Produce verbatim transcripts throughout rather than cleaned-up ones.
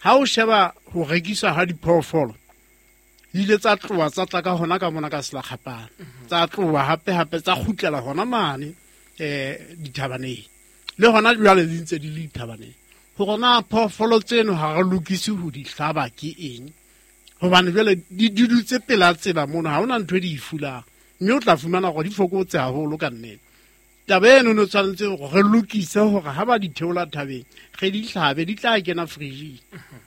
Ha o sheba ho rekiswa ha diphoofolo, di ile tsa tloha tsa tla ka hona ka mona ka Selakgapane, tsa tloha hape hape tsa kgutlela hona mane eh dithabaneng, le hona jwale di ntse di le dithabaneng. Hore na phoofolo tseno ha re lokise ho di hlaba ke eng, hobane jwale di di dutse pela tsela mono, ha hona ntho e di e fulang, mme o tla fumana hore di fokotse haholo ka nnete. Taba eno no tshwanetse hore re lokise hore ha ba di theola thabeng re di hlabe, di tla kena fridge.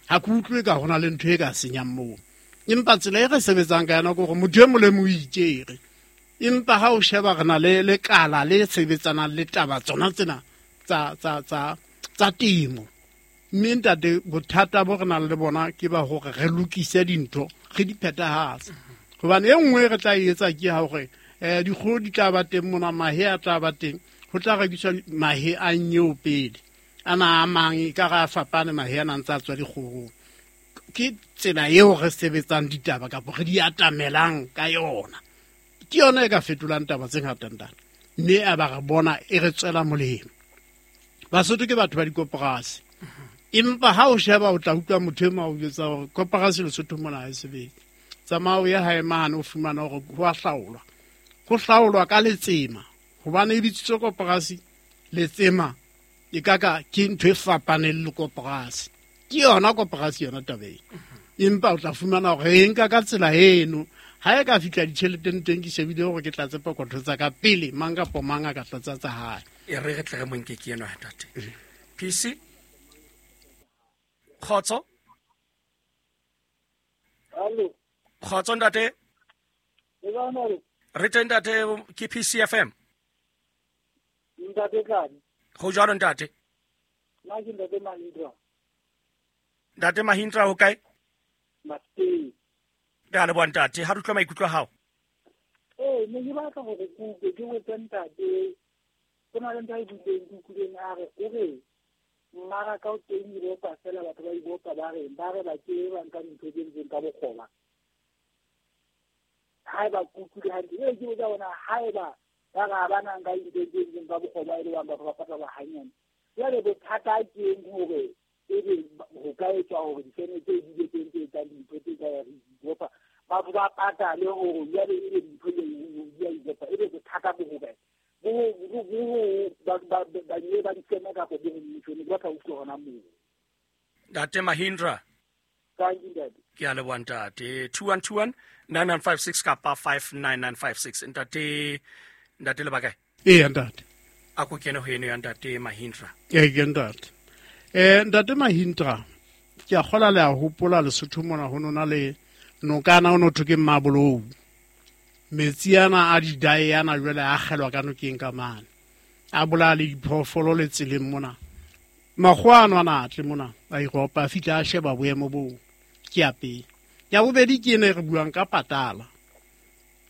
Ha ke utlwe ka hona le ntho e ka senyang moo, empa tsela e re sebetsang ka yona ke hore motho e mong le mong o itjere. Empa ha o sheba re na le lekala le sebetsanang le taba tsona tsena tsa, tsa, tsa, tsa temo. Mme ntate, bothata bo re nang le bona ke ba hore re lokise dintho, re di phethahatse. Hobane e nngwe re tla e etsa ke ha hore, eh, dikgoho di tla ba teng mona, mahe a tla ba teng, ho tla rekiswa mahe a nyeo pele. Ana a mang e ka re a fapane mahe a nang tsa tswa dikgohong. Ke tsela eo re sebetsang ditaba kapa re di atamelang ka yona. Ke yona e ka fetolang taba tse ngata ntate, mme a ba re bona e re tswela molemo. Basotho ke batho ba dikoporasi, empa ha o sheba o tla utlwa motho e mong a o jwetsa hore koporasi Lesotho mona ha e sebetse. Tsamaya o ye hae mane o fumana hore ho a hlaolwa. Ho hlaolwa ka letsema, hobane e bitsitswe koporasi, letsema e ka ka ke ntho e fapaneng le koporasi. Ke yona koporasi yona taba ena. Empa o tla fumana hore e nka ka tsela eno. Ha e ka fihla ditjheleteng teng, ke shebile hore ke tlatse pokotho tsa ka pele mang kapa mang a ka tlatsa tsa hae. E re re tle re mo nke ke enwa, ntate. P C? Kgotso? Hallo. Kgotso, ntate? Le kae, ntate? Re teng, ntate, ke P C F M. Ntate Tladi. Ho jwalo, ntate? Nna ke ntate Mahindra. Ntate Mahindra, ho kae? Mafikeng. Re a leboha, ntate. Ha re utlwa maikutlo a hao. Ee, ne ke batla hore ke utlwe, ke botse ntate. Ho na le ntho a e buileng, ke utlwileng a re, o re mmaraka o teng Europa fela, batho ba Europa ba reng, ba re ba ke ba nka dintho tse entsweng ka bokgoba. Haeba ke utlwile hantle, ee, ke botsa hore na haeba ba re ha ba na nka dintho tse entsweng ka bokgoba, e le bang batho ba patala hanyane. Jwale bothata ke eng hore ebe ho ka etswa hore difeme tse di be teng tse etsang dintho tse ka ya Europa, batho ba patale hore jwale ebe dintho di a Europa, ebe bothata bo hokae? Bo ho, bo, bo ho, ba, ba, ba, ba nye ba difeme kapa bo ho mmuso, ne ke batla ho utlwa hona moo. Ntate Mahindra. Thank you, ntate. Ke a leboha, ntate. Two one two one, nine nine five six kapa five nine nine five six. Ntate, ntate le ba kae? Ee, ntate. A ko kene ho eno ya ntate Mahindra. Ee, ke ntate. Eh, ntate Mahindra, ke a kgola le a hopola Lesotho mona ho nona le nokana ho no thwe ke Mmabolou. Metsi ana a didae ana jwale a akgelwa ka nokeng ka mane. A bolaya le diphoofolo le tseleng mona. Makgowa ano ana a tle mona, a Europa, a fihla a sheba boemo boo. Ke ya pele. Ya bobedi ke ena e re buang ka patala.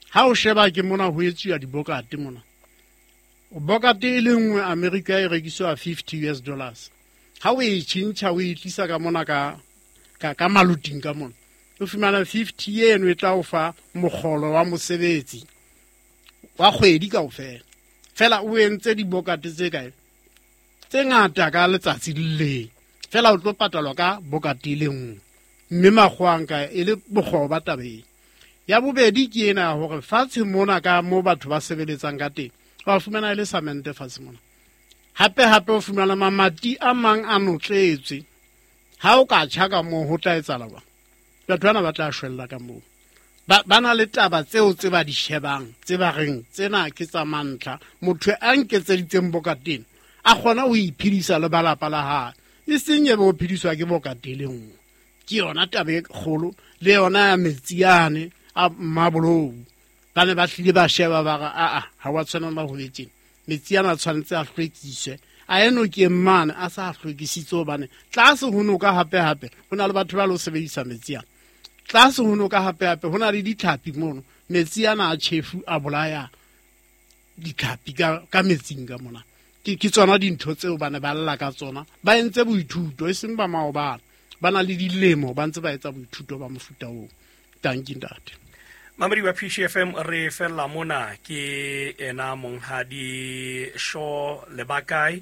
Ha o sheba ke mona ho etsuwa dibokate mona. Bokate e le nngwe Amerika e rekiswa fifty U S dollars. Ha o e tjhentjha o e tlisa ka mona ka, ka, ka maluting ka mona, o fumana fifty eno e tla o fa mokgolo wa mosebetsi wa kgwedi kaofela. Fela o entse dibokate tse kae? Tse ngata ka letsatsi le leng. Fela o tlo patalwa ka bokate e le nngwe. Mme makgowa a nka e le bokgoba tabeng. Ya bobedi ke ena ya hore fatshe mona ka mo batho ba sebeletsang ka teng, wa fumana e le samente fatshe mona. Hape hape o fumana mamati a mang a notletswe. Ha o ka tjha ka moo ho tla etsahala jwang? Batho bana ba tla shwella ka moo. Ba, ba na le taba tseo tse ba di shebang, tse ba reng tsena ke tsa mantlha. Motho a nketseditseng bokateng a kgona ho iphedisa le ba lapa la hae, e seng e be o phediswa ke bokate le nngwe. Ke yona taba e kgolo, le yona ya metsi ane a Mmabolou. Ba ne ba hlile ba sheba ba re, aa, ha wa tshwanela ho be tjena. Metsi ana a tshwanetse a hlwekiswe. A eno ke mane a sa hlwekisitse hobane tlase ho noka hape hape ho na le batho ba lo sebedisa metsi ana. Tlase ho noka hape hape ho na le ditlhapi mono. Metsi ana a tjhefu a bolaya ditlhapi ka, ka metsing ka mona. Ke, ke tsona dintho tseo ba ne ba lla ka tsona. Ba entse boithuto, e seng ba maobane. Ba na le dilemo ba ntse ba etsa boithuto ba mofuta oo. Dankie, ntate. Mamedi wa P C F M, re fella mona ke ena monghadi Shaw Lebakae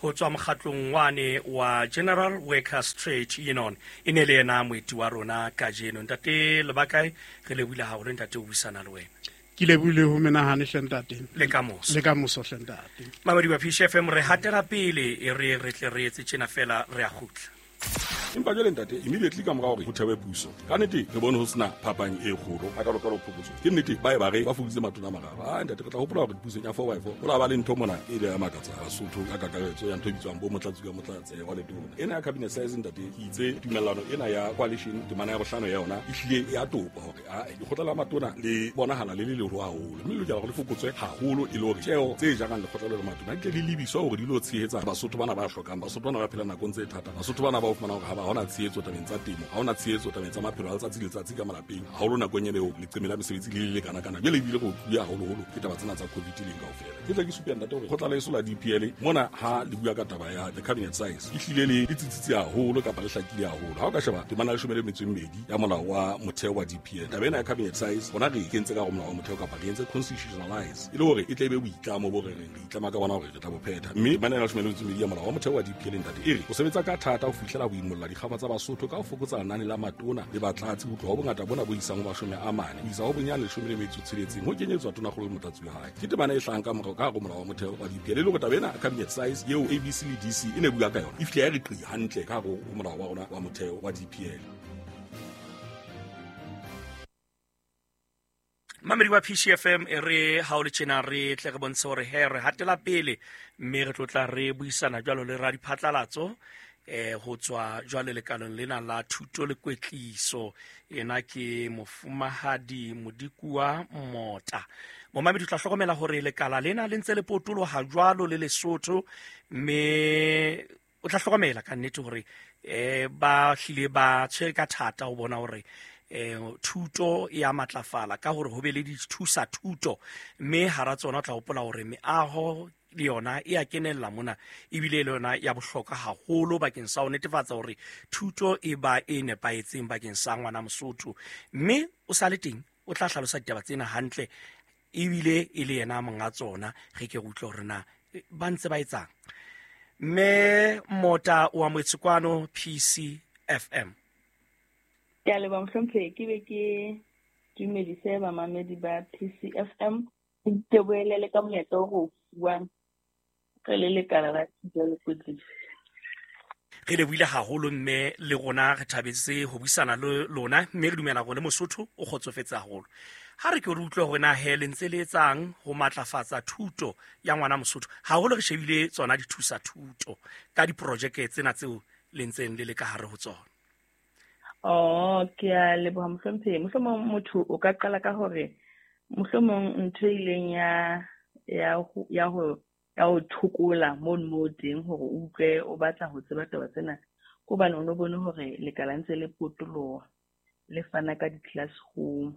ho tswa mokgatlong wane wa General Workers Trade Union. E ne le yena moeti wa rona kajeno. Ntate Lebakae, re lebohile haholo ntate ho buisana le wena. Ke lebohile ho menahane hle ntate. Le ka moso. Le ka moso hle ntate. Mamedi wa P C F M, re hatela pele e re re tle re etse tjena fela re a kgutla. Empa jwale ntate, immediately ka mora hore ho thewe puso, ka nnete re bone ho sena phapang e kgolo a ka lokela ho phokotso. Ke nnete ba e ba re ba fokoditse matona a mararo. Ah ntate, re tla hopola hore pusong ya four by four ho la ba le ntho mona e le ya makatsa Basotho ka kakaretso ya ntho e bitswang bo motlatsi ka motlatse wa letona. Ena ya cabinet size ntate, ke itse tumellano ena ya coalition temana ya bohlano ya yona e hlile e a topa hore a lekgotla la matona le bonahala le le leholo haholo, mme le lokela hore le fokotswe haholo e le hore tjeo tse jarang lekgotla le matona di tle di lebiswa hore di lo tshehetsa Basotho bana ba hlokang, Basotho bana ba phelang nakong tse thata, Basotho bana ba o fumana hore ha ba hona tshehetso tabeng tsa temo, ha hona tshehetso tabeng tsa maphelo a letsatsi le letsatsi ka malapeng, haholo nakong ena eo leqeme la mesebetsi le le kana-kana. Jwale ebile re utlwile haholoholo ke taba tsena tsa COVID leng kaofela. Ke tla ke supe ntate hore kgotla la heso la D P L mona ha le bua ka taba ya the cabinet size e hlile le le tsitsitse haholo kapa le hlakile haholo. Ha o ka sheba temana ya leshome le metso e mmedi ya molao wa motheo wa D P L, taba ena ya cabinet size rona re e kentse ka hare ho molao wa motheo kapa re entse constitutionalize e le hore e tle e be boitlamo bo re reng re itlama ka bona hore re tla bo phetha. Mme temana ya leshome le metso e mmedi ya molao wa motheo wa D P L ntate e re o sebetsa ka thata ho fihlela ho imolla dikgaba tsa Basotho ka ho fokotsa lenane la matona le batlatsi ho tloha ho bongata bona bo isang ho mashome a mane ho isa ho bonyane leshome le metso e tsheletseng ho kenyetswa tonakgolo le motlatsi wa hae. Ke temana e hlahang ka morao ka hare ho molao wa motheo wa D P L e le hore taba ena cabinet size eo A B C le D C e ne bua ka yona e fihle ya re qi hantle ka hare ho molao wa rona wa motheo wa D P L. Mamedi wa P C F M, e re ha o le tjena re tle re bontshe hore he re hatela pele, mme re tlotla re buisana jwalo le radiphatlalatso eh ho tswa jwale lekaleng lena la thuto le kwetliso. Ena ke mofumahadi Modikuwa Mota. Momamedi o tla hlokomela hore lekala lena le ntse le potoloha jwalo le Lesotho, mme o tla hlokomela ka nnete hore eh ba hlile ba tshwere ka thata ho bona hore eh thuto e a matlafala ka hore ho be le dithusa thuto, mme hara tsona o tla hopola hore meaho le yona e a kenella mona ebile le yona ya bohlokwa haholo bakeng sa ho netefatsa hore thuto e ba e nepahetseng bakeng sa ngwana Mosotho. Mme o sa le teng o tla hlalosa ditaba tsena hantle ebile e le yena monga tsona. Re ke re utlwe hore na ba ntse ba etsang. Mme Mota o amohetse kwano P C F M. Ke a leboha mohlomphehi, ke be ke dumedise bamamedi ba P C F M. Ke boelele ka monyetla o re o fuwang re le lekala la thuto le kwetliso. Re lebohile haholo mme le rona re thabetse ho buisana le lona, mme re dumela hore le Mosotho o kgotsofetse haholo. Ha re ke re utlwe hore na he le ntse le etsang ho matlafatsa thuto ya ngwana Mosotho, haholo re shebile tsona dithusa thuto ka diprojeke tsena tseo le ntseng le le ka hare ho tsona. Oh, ke a leboha mohlomphehi. Mohlomong motho o ka qala ka hore mohlomong ntho e ileng ya ya ho ya ho ya ho thokola mono mo teng hore o utlwe o batla ho tseba taba tsena, ke hobane o no bone hore lekala ntse le potoloha le fana ka di-classroom.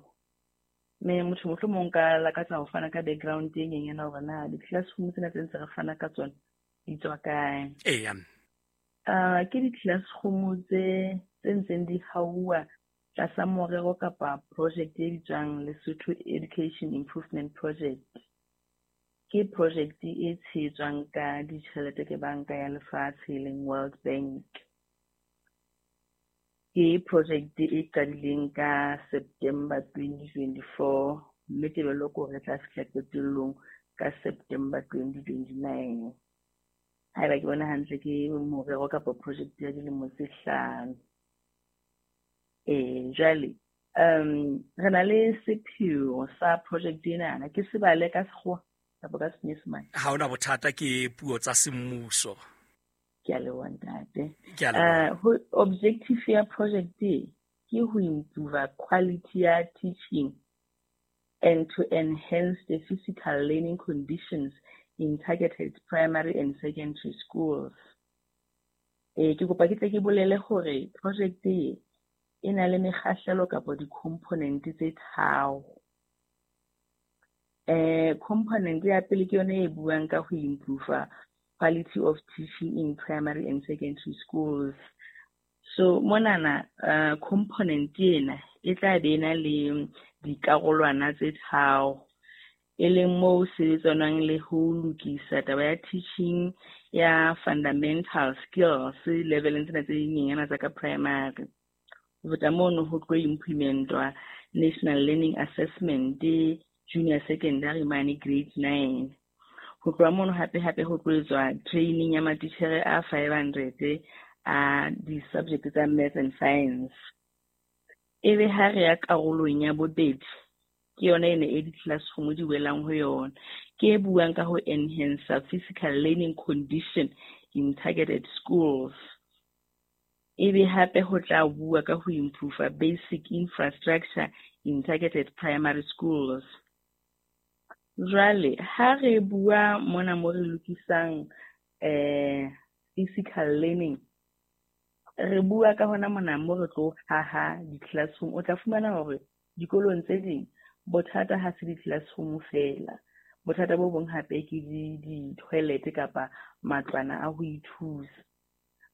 Mme motho mohlomong ka lakatsa ho fana ka background e nyenyana hore na di-classroom tsena tse ntse re fana ka tsona di tswa kae. Eya. Uh, ke di-classroom tse tse ntseng di hauwa tlasa morero kapa project e bitswang Lesotho Education Improvement Project. Ke project e tshehetswang ka ditjhelete ke banka ya lefatshe e leng World Bank. Ke project e qadileng ka September twenty twenty-four, mme tebello ke hore re tla fihla qetellong ka September twenty twenty-nine. Haeba ke bona hantle ke morero kapa project ya dilemo tse hlano. Eh, jwale um re na le sepheo sa project ena, ke se bale ka sekgowa kapa ka Senyesemane? Ha hona bothata, ke puo tsa semmuso. Ke a leboha ntate. Ke a leboha. Uh, objective ya project e ke ho improve quality ya teaching and to enhance the physical learning conditions in targeted primary and secondary schools. Eh, ke kopa ke tle ke bolele hore project e e na le mekgahlelo kapa di-component tse tharo. Eh, component ya pele ke yona e buang ka ho improve quality of teaching in primary and secondary schools. So monana uh, component ena e tla be na le dikarolwana tse tharo, e leng moo sebetsanwang le ho lokisa taba ya teaching ya fundamental skills leveleng tsena tse dinyenyana tsa ka primary. Ho feta mono ho tlo implementwa National Learning Assessment junior secondary mane grade nine. Ho tloha mono hape hape ho tlo etswa training ya matitjhere a five hundred a di-subject tsa maths and science. Ebe ha re ya karolong ya bobedi, ke yona ene e di-classroom di welang ho yona, ke e buang ka ho enhance physical learning condition in targeted schools. Ebe hape ho tla bua ka ho improve basic infrastructure in targeted primary schools. Jwale ha re bua mona mo re lokisang eh physical learning, re bua ka hona mona mo re tlo haha di-classroom. O tla fumana hore dikolong tse ding bothata ha se di-classroom fela, bothata bo bong hape ke di-toilet kapa matlwana a ho ithusa.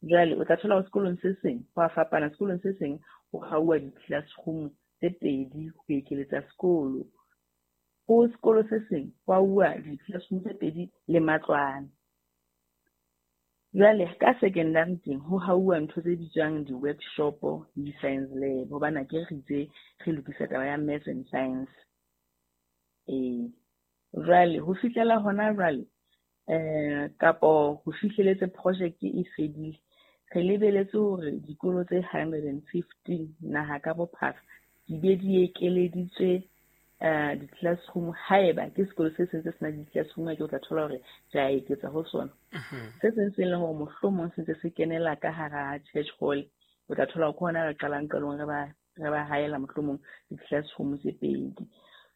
Jwale o tla thola hore sekolong se seng ho a fapana, sekolong se seng ho hauwa di-classroom tse pedi ho ekeletsa sekolo, ho sekolo se seng ho hauwa di-classroom tse pedi le matlwana. Jwale ka secondary teng ho hauwa ntho tse bitswang di-workshop le di-science lab, hobane ke re itse re lokisa taba ya maths and science. Eh, jwale ho fihlela hona jwale eh kapo ho fihleletse project e fedile, re lebeletse hore dikolo tse hundred and fifteen naha ka bophara di be di ekeleditswe eh di-classroom. Haeba ke sekolo se seng se sena di-classroom, ke o tla thola hore re a eketsa ho sona. Se seng se leng hore mohlomong se ntse se kenela ka hara church hall, o tla thola hore ke hona re qalang qalong re ba re ba haela mohlomong di-classroom tse pedi.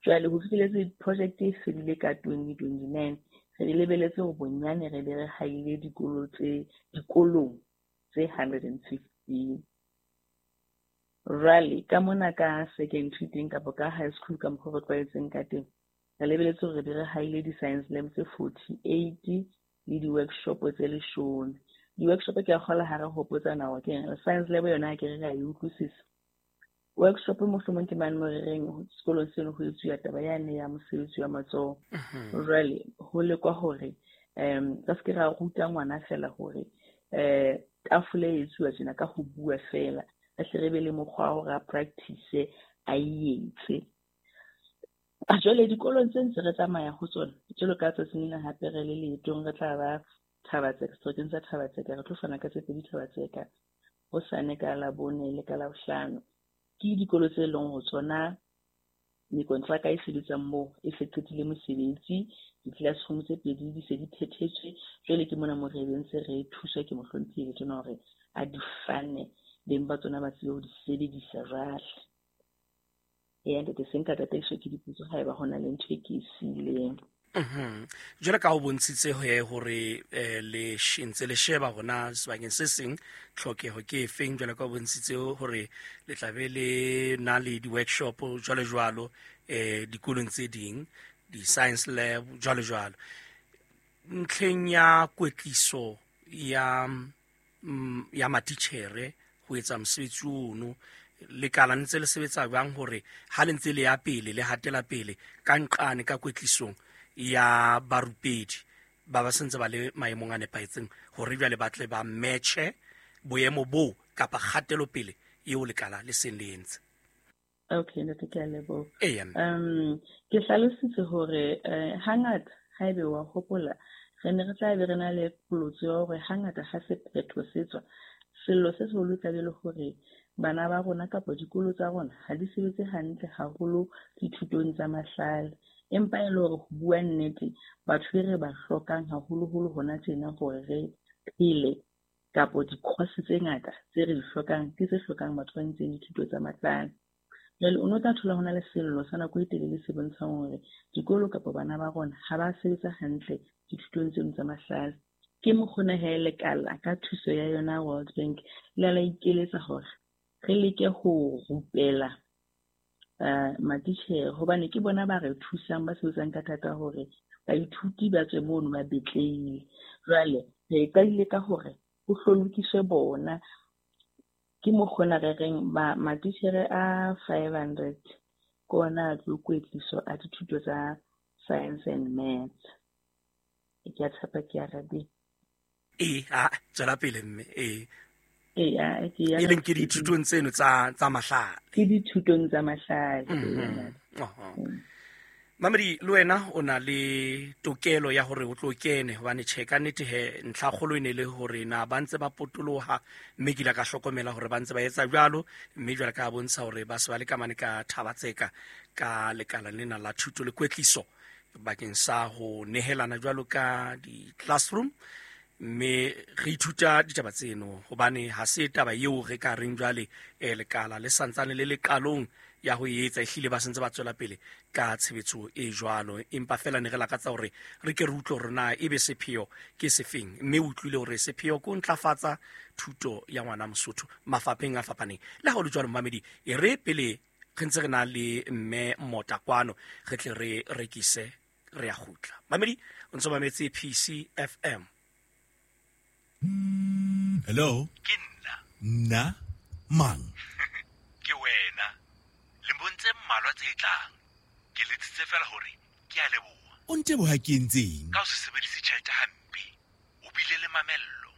Jwale ho fihleletse project e fedile ka twenty twenty-nine, re lebeletse hore bonyane re be re haile dikolo tse dikolong tse hundred and fifteen. Jwale ka mona ka secondary teng kapa ka high school ka mokgwa re tlwaetseng ka teng, re lebeletse hore re be re haile di-science lab tse forty-eight le di-workshop tse leshome. Di-workshop ke a kgola ha re hopotsana hore ke eng. Science lab yona ha ke re re a e utlwisisa. Workshop mohlomong ke mane mo re reng sekolong seno ho etsuwa taba yane ya mosebetsi wa matsoho. Jwale ho lekwa hore um ka se ke ra ruta ngwana fela hore eh tafole e etsuwa tjena ka ho bua fela, re hle re be le mokgwa wa hore a practice a e etse. Jwale dikolong tse ntse re tsamaya ho tsona, jwalo ka tsatsing lena hape re le leetong re tla ba Thabatseka, sebakeng sa Thabatseka, re tlo fana ka tse pedi Thabatseka hosane ka Labone le ka Labohlano. Ke dikolo tse leng ho tsona mekontraka e sebetsang moo e se qetile mosebetsi, di-classroom tse pedi di se di phethetswe. Jwale ke mona mo re ntse re thuswa ke mohlomphehi tsona hore a di fane, beng ba tsona ba tsebe ho di sebedisa jwale. Eya ntate, se nka tataiso ke dipotso haeba ho na le ntho e ke e siileng. Mhm. Jwale ka ho bontshitse hore le ntse le sheba hona sebakeng se seng tlhokeho ke efeng, jwale ka ho bontshitse hore le tla be le na le di-workshop jwalo jwalo eh dikolong tse ding, di-science lab jwalo jwalo. Ntlheng ya kwetliso ya ya matitjhere ho etsa mosebetsi ono, lekala ntse le sebetsa jwang hore ha le ntse le ya pele le hatela pele ka nqane ka kwetlisong ya barupedi ba ba sentse ba le maemong a nepahetseng hore jwale ba tle ba matche boemo bo kapa kgatelopele eo lekala le seng le entse? Okay, ntate, ke a leboha. Eya. Um ke hlalositse hore hangata haebe wa hopola re ne re tla be re na le polotso ya hore hangata ha sephetho se tswa, sello se seholo tla be le hore bana ba rona kapa dikolo tsa rona ha di sebetse hantle haholo dithutong tsa mahlale. Empa e le hore ho bua nnete, batho e re ba hlokang haholoholo hona tjena hore re phele kapo di-course tse ngata tse re di hlokang ke tse hlokang batho ba entseng dithuto tsa mahlale. Jwale o no tla thola hona le sello sa nako e telele se bontshang hore dikolo kapa bana ba rona ha ba sebetsa hantle dithutong tseno tsa mahlale. Ke mokgona he lekala ka thuso ya yona World Bank le la ikeletsa hore re leke ho rupela uh matitjhere, hobane ke bona ba re thusang, ba sebetsang ka thata hore baithuti ba tswe mono ba betlehile. Jwale re qadile ka hore ho hlolokiswe bona. Ke mokgona re reng ba matitjhere a five hundred ke ona a tlo kwetliso a dithuto tsa science and maths. Ke a tshepa ke arabile. E a tswela pele mme e e a ke ya e leng ke dithutong tseno tsa tsa mahlale. Ke dithutong tsa mahlale. Mhm. Mamedi le wena o na le tokelo ya hore o tlo kene hobane tjhe ka nnete he ntlha kgolo e ne le hore na ba ntse ba potoloha mme ke ile ka hlokomela hore ba ntse ba etsa jwalo mme jwale ka bontsha hore ba se ba le ka mane ka Thabatseka ka lekala lena la thuto le kwetliso bakeng sa ho nehelana jwalo ka di-classroom mme re ithuta ditaba tseno hobane ha se taba eo re ka reng jwale eh, lekala le santsane le leqalong ya ho etsa ehlile ba sentse ba tswela pele ka tshebetso e jwalo empa fela ne re lakatsa hore re ke re utlwe hore na ebe sepheo ke sefeng mme o utlwile hore sepheo ke ho ntlafatsa thuto ya ngwana Mosotho mafapheng a fapaneng. Le ha ho le jwalo mamedi e re pele re ntse re na le mme Mota kwano re tle re rekise re ya kgutla. Mamedi o ntso mametse P C F M. Hello, ke nna. Nna mang? Ke wena. Lemong tse mmalwa tse tlang ke letsitse fela hore ke a leboha. O nteboha ke entseng? Ka ho se sebedise tjhelete hampe, o bile le mamello,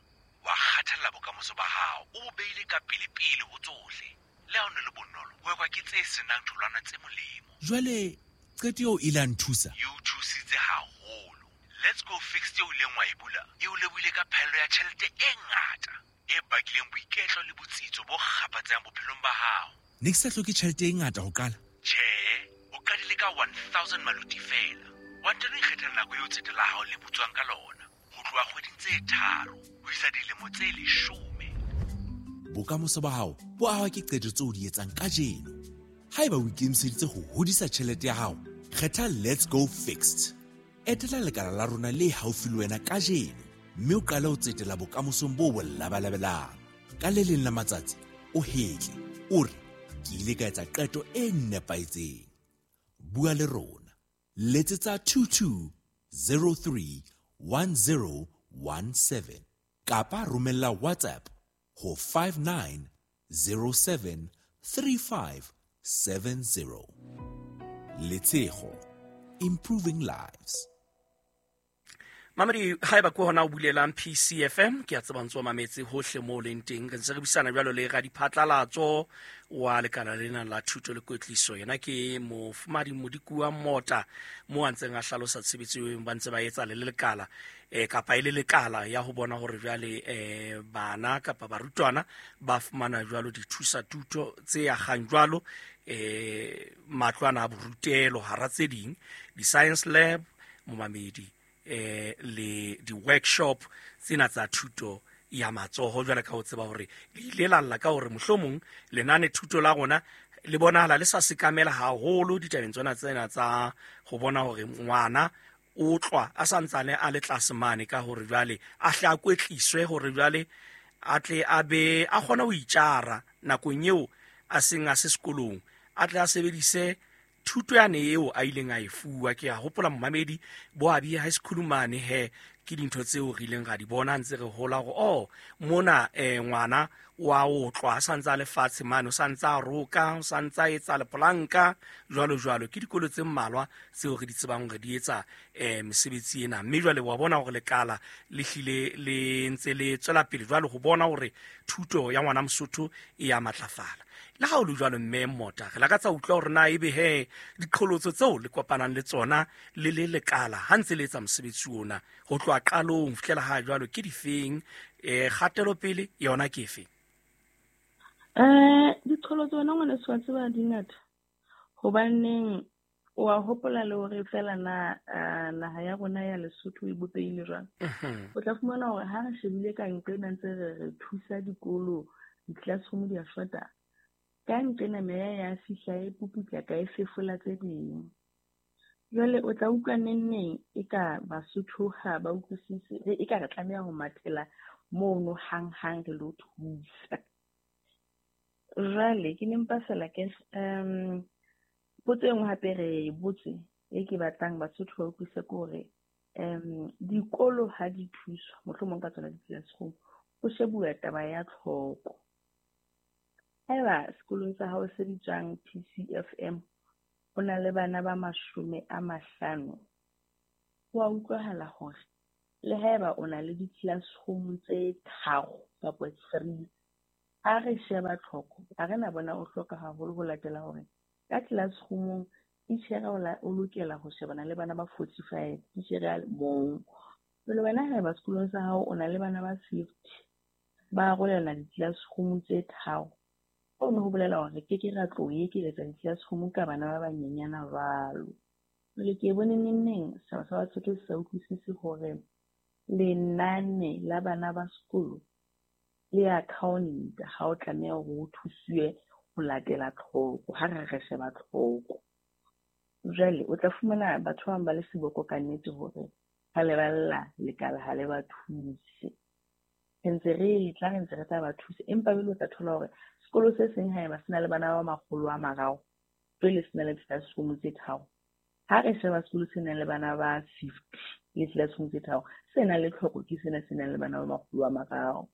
wa kgathalla bokamoso ba hao, o bo beile ka pele-pele ho tsohle. Le ha o ne le bonolo, ho ekwa ke tse senang tholwana tse molemo. Jwale qeto eo ile ya nthusa? E o thusitse haholo. Let's Go Fixed eo ileng wa e bula, e o lebohile ka phaello ya tjhelete e ngata e bakileng boiketlo le botsitso bo kgaphatsehang bophelong ba hao. Ne ke sa hloke tjhelete e ngata ho qala? Tjhe, o qadile ka one thousand maluti fela. Wa ntano ikgethela nako eo tsete la hao le butswang ka lona, ho tloha kgweding tse tharo ho isa dilemo tse leshome. Bokamoso ba hao bo ahwa ke qeto tseo o di etsang kajeno. Haeba o ikemiseditse ho hodisa tjhelete ya hao, kgetha Let's Go Fixed. Etela lekala la rona le haufi le wena kajeno mme o qale ho tsetela bokamosong bo bo labalabelang. Ka le leng la matsatsi o hetle, o re ke ile ka etsa qeto e nepahetseng. Bua le rona. Letsetsa two two zero three one zero one seven kapa romella WhatsApp ho five nine zero seven three five seven zero. Letshego, improving lives. Mamedi haeba ke hona o bulelang P C F M ke a tseba ntse o mametse hohle moo leng teng re ntse re buisana jwalo le radiphatlalatso wa lekala lena la thuto le kwetliso yena ke mofumadi Modikuwa Mota mo a ntseng a hlalosa tshebetso eo ba ntse ba etsa le lekala eh kapa e le lekala ya ho bona hore jwale eh bana kapa barutwana ba fumana jwalo dithusa thuto tse akgang jwalo eh matlwana a borutelo hara tse ding di-science lab momamedi eh le di-workshop tsena tsa thuto ya matsoho jwale ka ho tseba hore le ile la lla ka hore mohlomong lenane thuto la rona le bonahala le sa sekamela haholo ditabeng tsona tsena tsa ho bona hore ngwana o tlwa a santsane a le tlase mane ka hore jwale a hle a kwetliswe hore jwale a tle a be a kgone ho itjara nakong eo a seng a se sekolong a tle a sebedise thuto yane eo a ileng a e fuwa. Ke a hopola momamedi bo Abie High School mane he ke dintho tseo re ileng ra di bona ntse re hola hore oh mona eh ngwana wa otlwa a santse a le fatshe mane o santse a roka o santse a etsa lepolanka jwalo jwalo. Ke dikolo tse mmalwa tseo re di tsebang hore di etsa eh mesebetsi ena mme jwale wa bona hore lekala le hlile le ntse le tswela pele jwalo ho bona hore thuto ya ngwana Mosotho e ya matlafala. Le ha o le jwalo mme Mota re lakatsa utlwa hore na ebe he diqholotso tseo le kopanang le tsona le le lekala ha ntse le etsa mosebetsi ona ho tloha qalong ho fihlela ha jwalo ke difeng eh kgatelopele yona ke efe? Eh diqholotso wena ngwaneso wa tseba di ngata hobaneng o a hopola le hore fela na naha ya rona ya Lesotho e bopehile jwang. O tla fumana hore ha re shebile ka nqena ntse re re thusa dikolo di-classroom di a shota ka nqena meya ya fihla e puputla ka e fefola tse ding. Jwale o tla utlwa neng e ka Basotho ha ba utlwisise e ka re tlameha ho mathela mono hang-hang re lo thusa. Jwale ke ne mpa fela ke um potso e nngwe hape re e botse e ke batlang Basotho ba utlwisise ke hore um dikolo ha di thuswa mohlomong ka tsona di-classroom ho shebuwa taba ya tlhoko. Haeba sekolong sa hao se bitswang P C F M ho na le bana ba mashome a mahlano, ho a utlwahala hore Le haeba o na le di-classroom tse tharo kapa three, ha re sheba tlhoko, ha re na bona o hloka haholo ho latela hore ka classroom-ong titjhere o lokela ho shebana le bana ba forty-five, titjhere a le mong. Jwale wena haeba sekolong sa hao o na le bana ba fifty, ba arolelana di-classroom tse tharo, hono ho bolela hore re keke ra tlo ekeletsa di-classroom ka bana ba banyenyana jwalo. Jwale ke bone nengneng setjhaba sa Basotho se sa utlwisise hore lenane la bana ba sekolo le account ha o tlameha hore o thusiwe ho latela tlhoko, ha re re sheba tlhoko. Jwale o tla fumana batho ba bang ba le seboko ka nnete hore ha le balla lekala ha le ba thuse. Re ntse re tla re ntse re tla ba thusa, empa jwale o tla thola hore sekolo se seng haeba se na le bana ba makgolo a mararo, jwale se na le classroom tse tharo. Ha re sheba sekolo se nang le bana ba fifty le classroom tse tharo, se nang le tlhoko ke sena se nang le bana ba makgolo a mararo.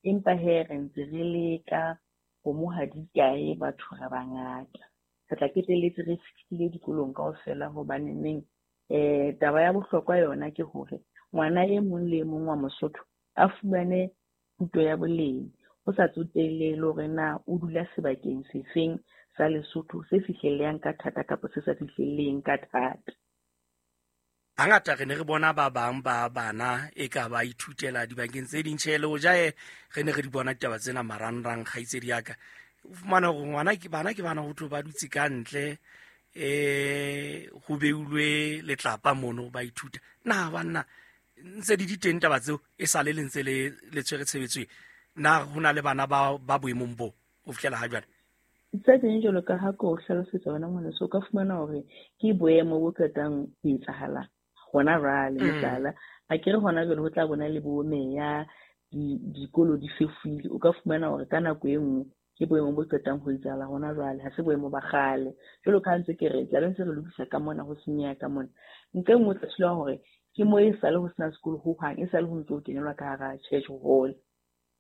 Empa he re ntse re leka kgomo ha di kae, batho re bangata. Re tla qetelletse re fihlile dikolong kaofela hobane neng eh taba ya bohlokwa yona ke hore ngwana e mong le e mong wa Mosotho a fumane thuto ya boleng, ho sa tsotelle le hore na o dula sebakeng sefeng sa Lesotho se fihlellehang ka thata kapa se sa fihlelleheng ka thata. Hangata re ne re bona ba bang ba bana e ka ba ithutela dibakeng tse ding, tjhe le hoja re ne re di bona ditaba tsena marangrang, kgaitsedi ya ka. O fumana hore ngwana ke bana ke bana ho thwe ba dutse ka ntle, eh ho beulwe letlapa mono ba ithuta. Na banna ntse di di teng taba tseo e sale le ntse le le tshwere tshebetso, na ho na le bana ba ba boemong bo ho fihlela ha jwale? Tse ding jwalo ka ha ko hlalosetsa wena ngwaneso, o ka fumana hore ke boemo bo qetang ho etsahala hona jwale. Mohlala, ha ke re hona jwale ho tla bona le bo meya, dikolo di fefuile, o ka fumana hore ka nako e nngwe ke boemo bo qetang ho etsahala hona jwale, ha se boemo ba kgale. Jwalo ka ha ntse ke re tla be ntse re lokisa ka mona, ho senyeha ka mona. Ntle e nngwe o tla thola hore ke mo e sale ho sena sekolo hohang, e sale ho ntso ho kenelwa ka hara church hall.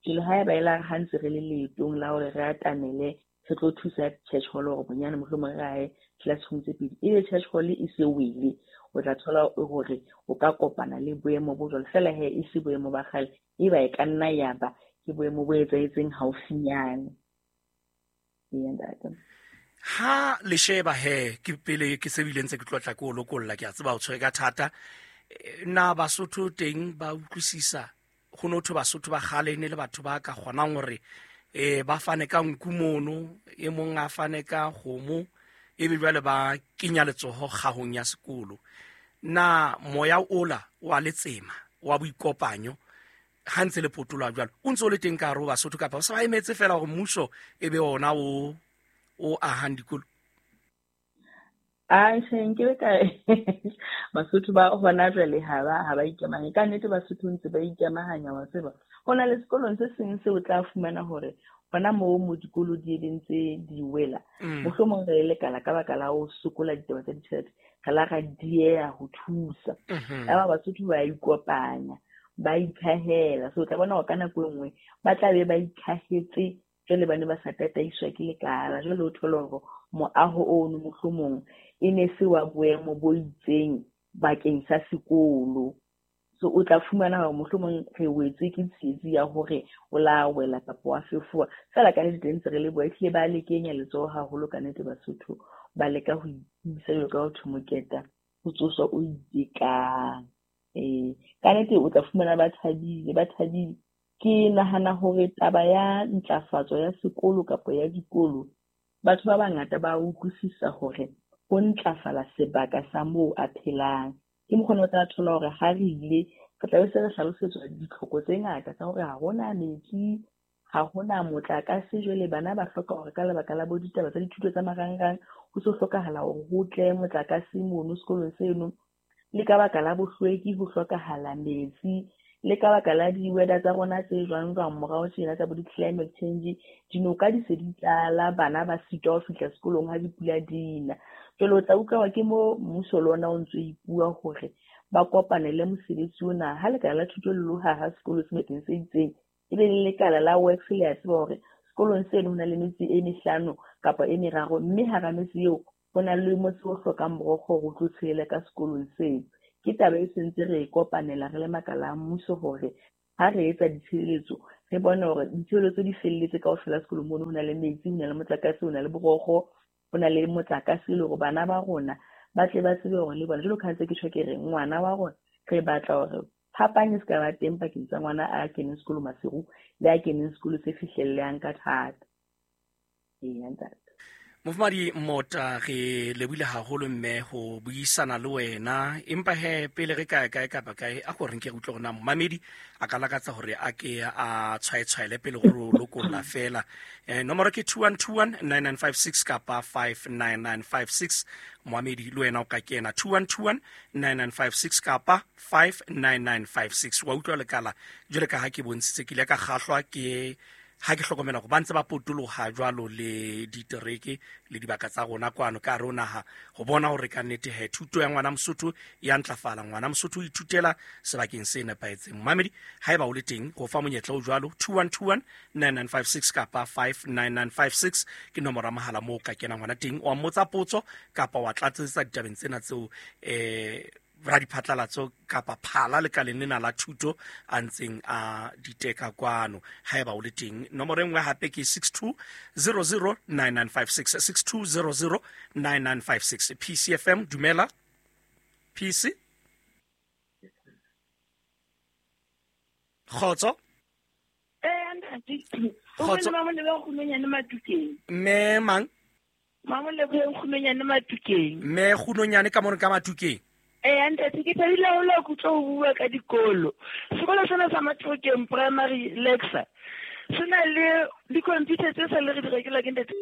Jwale haeba e la ha ntse re le leetong la hore re atamele re tlo thusa church hall hore bonyane mohlomong re ahe classroom tse pedi, ebe church hall e se wele, o tla thola hore o ka kopana le boemo bo jwalo. Feela he e se boemo ba kgale, eba e ka nna ya ba ke boemo bo etsahetseng haufinyane. Ha le sheba he ke pele ke se bile ntse ke tlotla ke o lokolla, ke a tseba o tshwere ka thata. Na Basotho teng ba utlwisisa ho no thwe Basotho ba kgale ne le batho ba ka kgonang hore eh ba fane ka nku mono, e mong a fane ka kgomo, ebe jwale ba kenya letsoho kgahong ya sekolo. Na moya ola wa letsema wa boikopanyo ha ntse le potoloha jwalo o ntse o le teng ka hare ho Basotho, kapa ba sa ba emetse fela hore mmuso e be ona o o ahang dikolo? A nke ka Basotho ba hona jwale ha ba ha ba ikamahanye. Ka nnete Basotho ntse ba ikamahanya, wa tseba. Ho na le sekolong se seng seo o tla fumana hore hona moo mo dikolo di eleng tse di wela, mohlomong re lekala ka baka la ho sokola ditaba tsa ditjhelete, re la ra dieha ho thusa. Yaba Basotho ba ikopanya, ba ikhahela. So o tla bona hore ka nako e nngwe ba tla be ba ikhahetse jwale ba ne ba sa tataiswa ke lekala. Jwale o thole hore moaho ono mohlomong e ne se wa boemo bo itseng bakeng sa sekolo. So o tla fumana hore mohlomong re wetswe ke tsietsi ya hore o la wela kapa wa fefowa. Feela ka nnete teng ntse re leboha, ehlile ba le kenya letsoho haholo ka nnete Basotho, ba leka ho ithusa jwalo ka ho thwe moketa ho tsoswa o itekang. Eh, ka nnete o tla fumana ba thabile, ba thabile. Ke nahana hore taba ya ntlafatso ya sekolo kapa ya dikolo, batho ba bangata ba utlwisisa hore ho ntlafala sebaka sa moo a phelang. Ke mokgwa o tla thola hore ha re ile re tla be se re hlalosetswa ditlhoko tse ngata tsa hore ha hona metsi, ha hona motlakase. Jwale bana ba hloka hore ka lebaka la bo ditaba tsa dithuto tsa marangrang ho so hlokahala hore ho tle motlakase mono sekolong seno, le ka baka la bohlweki ho hlokahala metsi, le ka baka la di-weather tsa rona tse jwang jwang morao tjena tsa bo di-climate change, dinoka di se di tlala, bana ba sitwa ho fihla sekolong ha dipula di na. Jwale o tla utlwa ke mo mmuso le ona o ntso ipua hore ba kopanele mosebetsi ona. Ha lekala la thuto le loha ha sekolo sebakeng se itseng, ebe le lekala la works le a tseba hore sekolong seno ho na le metse e mehlano kapa e meraro, mme hara metse eo ho na le motse o hlokang borokgo hore o tlo tshela ka sekolong seo. Ke taba e sentse re e kopanela re le makala a mmuso hore ha re etsa ditshebeletso re bone hore ditshebeletso di felletse kaofela sekolong mono. Ho na le metsi, ho na le motlakase, ho na le borokgo, ho na le motlakase, le hore bana ba rona ba tle ba tsebe hore le bona jwalo ka ha ntse ke tjho ke re ngwana wa rona re batla hore phapang e se ka ba teng pakeng tsa ngwana a keneng sekolo Maseru le a keneng sekolo se fihlellehang ka thata. Eya ntate. Mofumahadi Mota, re lebohile haholo mme ho buisana le wena, empa he pele re kae kae kapa kae a ko re nke re utlwe hore na momamedi a ka lakatsa hore a ke a tshwaetshwaele pele ho re lokolla fela. Eh, nomoro ke two one two one nine nine five six kapa five nine nine five six. Momamedi le wena o ka kena two one two one nine nine five six kapa five nine nine five six. Wa utlwa lekala jwale ka ha ke bontshitse, ke ile ka kgahlwa ke ha ke hlokomela hore ba ntse ba potoloha jwalo le ditereke le dibaka tsa rona kwano ka hare ho naha, ho bona hore ka nnete he thuto ya ngwana Mosotho ya ntlafala, ngwana Mosotho o ithutela sebakeng se nepahetseng. Momamedi, haeba o le teng, go fa monyetla o jwalo two one two one nine nine five six kapa five nine nine five six ke nomoro ya mohala moo o ka kenang hona teng, wa mmotsa potso kapa wa tlatsetsa ditabeng tsena tseo eh radiphatlalatso kapa phala lekaleng lena la thuto a ntseng a diteka kwano. Haeba o le teng, nomoro e nngwe hape ke six two zero zero nine nine five six, six two zero zero nine nine five six. P C F M, dumela. P C Kgotso. Eh, Kgotso. Mme mang? Mme Kgunonyane ka mono ka Matukeng. Eh, ntate, ke thabile haholo ha ke utlwa ho bua ka dikolo. Sekolo sena sa Matukeng Primary Lexa se na le di-computer tse sa le re di rekela ke ntate.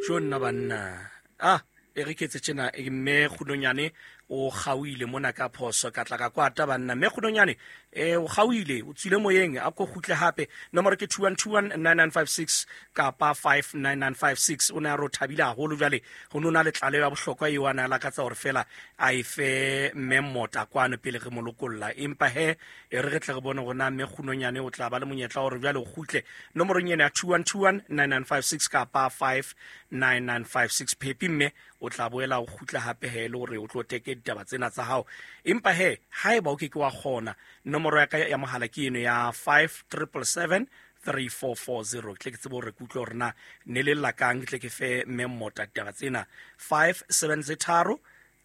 Jo nna banna. Ah, e re ke etse tjena, mme Kgunonyane o kgaohile mona ka phoso, ka tla ka kwata banna. Mme Kgunonyane eh o kgaohile, o tswile moyeng, a ko kgutle hape. Nomoro ke two one two one nine nine five six kapa five nine nine five six. O ne a re o thabile haholo jwale ho nona le tlaleho ya bohlokwa eo a ne a lakatsa hore fela a e fe mme Mota kwano pele re mo lokolla. Empa he e re re tle re bone hore na mme Kgunonyane o tla ba le monyetla hore jwale o kgutle nomorong ena ya two one two one nine nine five six kapa five nine nine five six. Phepi mme o tla boela o kgutla hape he le hore o tlo teke ditaba tsena tsa hao. Empa he haeba o ke ke wa kgona, nomoro ya ka ya mohala ke eno ya five triple seven three four four zero. Tle ke tsebe hore ke utlwe hore na ne le lla kang, tle ke fe mme Mota ditaba tsena. Five seven tse tharo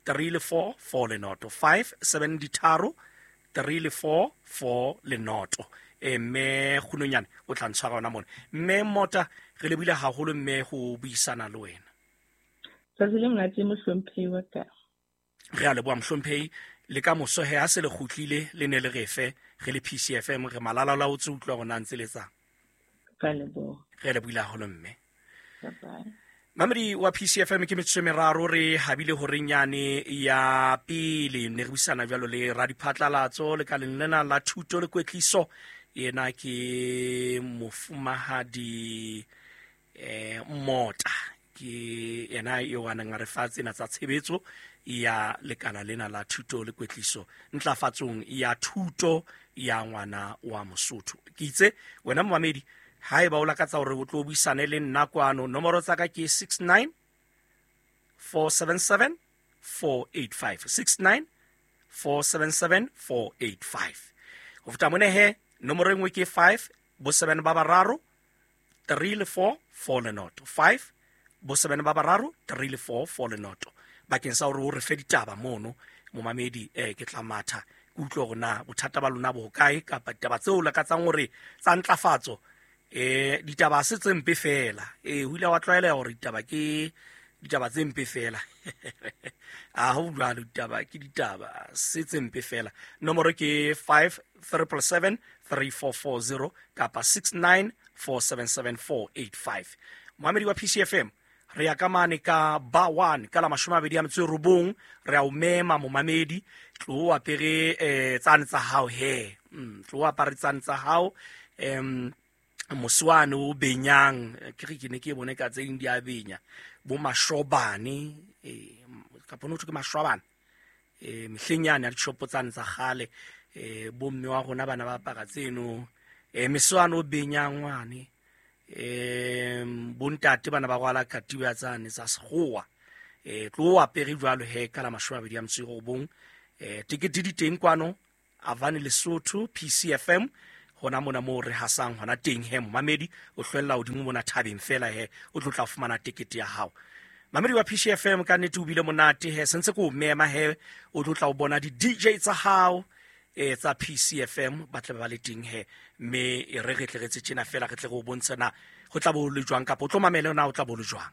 three le four four le noto, five seven ditharo three le four four le noto. E mme Kgunonyane o tla ntshwara hona mona. Mme Mota, re lebohile haholo mme ho buisana le wena. Tsatsi le monate mohlomphehi wa ka. Re a leboha mohlomphehi, le ka moso he ha se le kgutlile le ne le re fe re le P C F M re malala la o tse utlwa hore na ntse le tsang. Ka leboha. Re lebohile haholo mme. Bye. Mamedi wa P C F M ke metsotso e meraro re habile horeng yane ya pele, ne re buisana jwalo le radiphatlalatso lekaleng lena la thuto le kwetliso. Yena ke mofumahadi eh Mota, ke yena eo a neng a re fa tsena tsa tshebetso ya lekala lena la thuto le kwetliso ntlafatsong ya thuto ya ngwana wa Mosotho. Ke itse wena momamedi, haeba o lakatsa hore o tlo buisane le nna kwano, nomoro tsa ka ke six nine four seven seven four eight five, six nine four seven seven four eight five. Ho feta mona he, nomoro e nngwe ke five bo seven ba bararo three le four four le noto, five bo seven ba bararo three le four four le noto. Bakeng sa hore o re fe ditaba mono momamedi, eh ke tla matha ke utlwe hore na bothata ba lona bo hokae, kapa ditaba tseo lakatsang hore tsa ntlafatso. Eh ditaba se tse mpe fela, eh ho ile wa tlwaeleha hore ditaba ke ditaba tse mpe fela. A ho jwalo, ditaba ke ditaba se tse mpe fela. Nomoro ke five triple seven three four four zero kapa six nine four seven seven four eight five. Momamedi wa P C F M, re ya ka mane ka ba one ka la mashome a mabedi a metso e robong, re a o mema momamedi, tlo o apere eh tsane tsa hao he. Mm, tlo o apare tsane tsa hao, em moswane o benyang, ke re ke ne ke bone ka tse ding di a benya, bo mashobane, eh kapa no ke mashobane, eh mehleng yane ya dishopo tsane tsa kgale, eh bo mme wa rona bana ba apara tseno, eh meswane o benyang ngwane, eh bontate bana ba rwala katiba tsane tsa sekgowa, Eh tlo apere jwalo he ka la mashome a mabedi a metso e robong. Eh tikete di teng kwano Avani Lesotho P C F M hona mona moo re hasang hona teng he momamedi o hlwella hodimo mona thabeng fela he o tlo tla fumana tikete ya hao. Mamedi wa P C F M ka nnete o bile monate he sentse ko mema he o tlo tla o bona di D J tsa hao e tsa P C F M ba tle ba le teng he mme e re re tle re tse tjena fela re tle re o bontsha na ho tla bo le jwang kapa o tlo mamela na o tla bo le jwang.